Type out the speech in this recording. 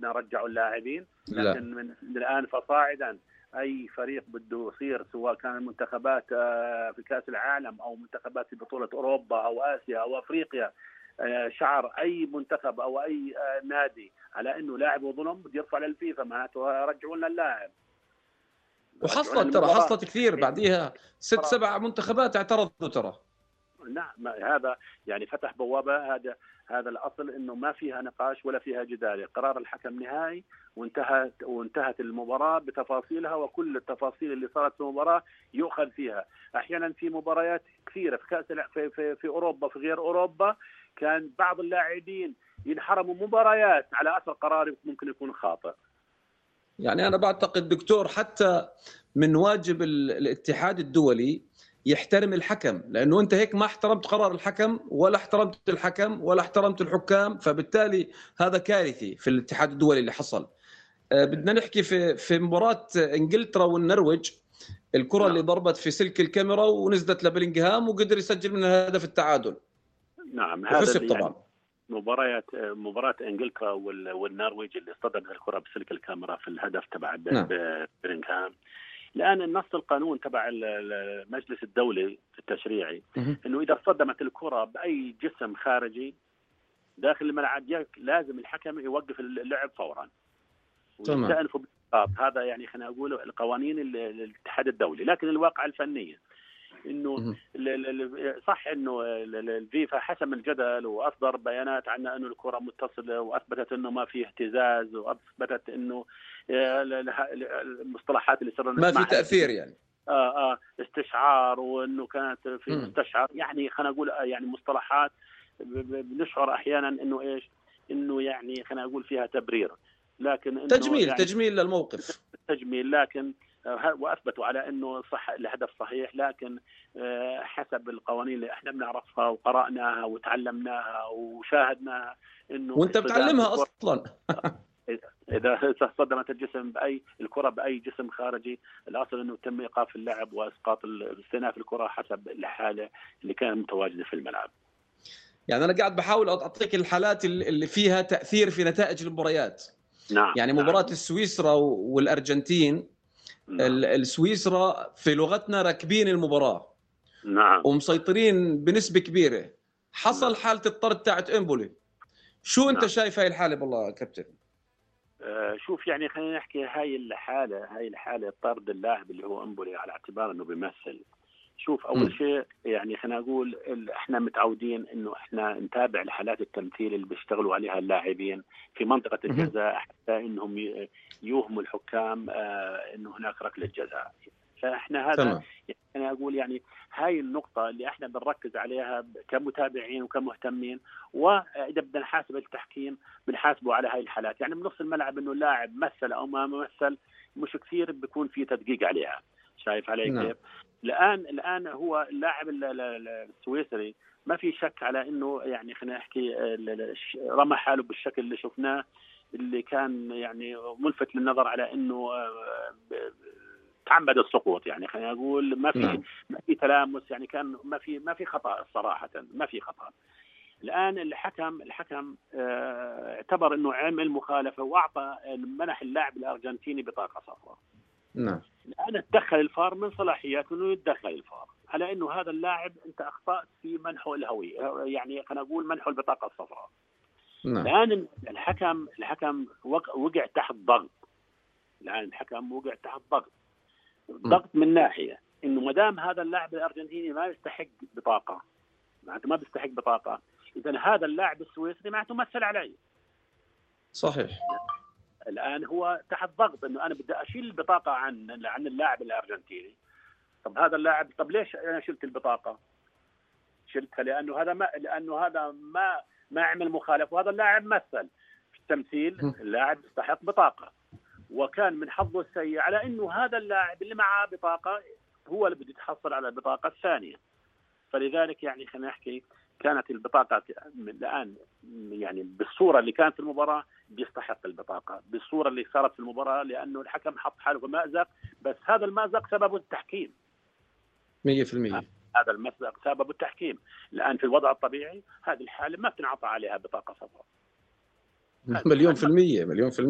بدنا نرجعوا اللاعبين، لا. لكن من الآن فصاعدا أي فريق بده يصير، سواء كان المنتخبات في كأس العالم أو منتخبات في بطولة أوروبا أو آسيا أو أفريقيا، شعر أي منتخب أو أي نادي على إنه لاعب ظلم بده يرفع للفيفا، معناته رجعوا لنا اللاعب. حصلت كثير بعديها 6-7 منتخبات اعترضوا ترى. نعم، هذا يعني فتح بوابة. هذا الأصل إنه ما فيها نقاش ولا فيها جدال، قرار الحكم نهائي وانتهت المباراة بتفاصيلها، وكل التفاصيل اللي صارت في المباراة يؤخذ فيها. أحيانا في مباريات كثيرة في كأس في أوروبا، في غير أوروبا، كان بعض اللاعبين ينحرموا مباريات على أثر قرار ممكن يكون خاطئ. يعني أنا بعتقد دكتور حتى من واجب الاتحاد الدولي يحترم الحكم، لأنه أنت هيك ما احترمت قرار الحكم ولا احترمت الحكم ولا احترمت الحكام، فبالتالي هذا كارثي في الاتحاد الدولي اللي حصل. بدنا نحكي في مباراة إنجلترا والنرويج، الكرة اللي ضربت في سلك الكاميرا ونزلت لبلينغهام وقدر يسجل منها هدف التعادل. نعم، هذا طبعا يعني مباراة انجلترا والنرويج اللي اصطدمت الكرة بسلك الكاميرا في الهدف تبع بلينغهام. الآن النص القانون تبع المجلس الدولي التشريعي انه اذا اصطدمت الكرة باي جسم خارجي داخل الملعب لازم الحكم يوقف اللعب فورا ويستأنفوا بالإسقاط. هذا يعني خلينا نقول القوانين الاتحاد الدولي. لكن الواقع الفنية انه صح انه الفيفا حسم الجدل واصدر بيانات عن انه الكره متصله، واثبتت انه ما في اهتزاز، واثبتت انه المصطلحات اللي صرنا ما في تاثير يعني استشعار، وانه كانت في مستشعر، يعني خلينا نقول يعني مصطلحات بنشعر احيانا انه ايش، انه يعني خلينا نقول فيها تبرير، لكن انه تجميل للموقف، تجميل. لكن واثبتوا على انه صح الهدف صحيح، لكن حسب القوانين اللي احنا بنعرفها وقرأناها وتعلمناها وشاهدناها انه وانت بتعلمها اصلا اذا صدمت الكره باي جسم خارجي، الاصل انه تم ايقاف اللعب واسقاط استئناف الكره حسب الحاله اللي كانت متواجده في الملعب. يعني انا قاعد بحاول اعطيك الحالات اللي فيها تاثير في نتائج المباريات. نعم. يعني مباراه السويسرا والارجنتين، السويسرا في لغتنا راكبين المباراه، نعم، ومسيطرين بنسبه كبيره. حصل حاله الطرد تاعت امبولي. شو انت شايف هاي الحاله بالله كابتن؟ شوف، يعني خلينا نحكي هاي الحاله طرد اللاعب اللي هو امبولي على اعتبار انه بيمثل. شوف، اول شيء يعني خلينا نقول احنا متعودين انه احنا نتابع الحالات التمثيل اللي بيشتغلوا عليها اللاعبين في منطقه الجزاء حتى انهم يوهموا الحكام انه هناك ركله جزاء. فاحنا هذا يعني اقول يعني هاي النقطه اللي احنا بنركز عليها كمتابعين وكمهتمين. واذا بدنا نحاسب التحكيم بنحاسبه على هاي الحالات، يعني بنص الملعب انه اللاعب مثل او ما مثل مش كثير بيكون في تدقيق عليها. شايف علي كيف؟ الآن هو اللاعب السويسري ما في شك على إنه يعني خلينا نحكي رمى حاله بالشكل اللي شفناه، اللي كان يعني ملفت للنظر على إنه تعمد السقوط. يعني خلينا نقول ما في تلامس، يعني كان ما في خطأ صراحة، ما في خطأ. الآن الحكم اعتبر إنه عمل مخالفة وأعطى منح اللاعب الأرجنتيني بطاقة صفراء. نعم. الآن تدخل الفار من صلاحياته إنه يتدخل الفار على إنه هذا اللاعب أنت أخطأت في منحه الهوية، يعني خلينا نقول منحه البطاقة الصفراء. نعم. الآن الحكم وقع تحت ضغط. ضغط من ناحية إنه مدام هذا اللاعب الأرجنتيني ما يستحق بطاقة، معناته ما بيستحق بطاقة، إذا هذا اللاعب السويسري معناته مثل علي. صحيح. الآن هو تحت ضغط إنه أنا بدي أشيل البطاقة عن اللاعب الأرجنتيني. طب هذا اللاعب، طب ليش أنا شلت البطاقة؟ شلتها لأنه هذا ما عمل مخالفة، وهذا اللاعب مثل في التمثيل. اللاعب يستحق بطاقة، وكان من حظه السيء على إنه هذا اللاعب اللي معه بطاقة هو اللي بده يتحصل على البطاقة الثانية. فلذلك يعني خلينا نحكي كانت البطاقة الآن يعني بالصورة اللي كانت في المباراة بيستحق البطاقة، بالصورة اللي صارت في المباراة، لأنه الحكم حط حاله في مأزق، بس هذا المأزق سببه التحكيم 100%. هذا المأزق سببه التحكيم. الآن في الوضع الطبيعي هذه الحالة ما بتنعطى عليها بطاقة صفراء. مليون في المية.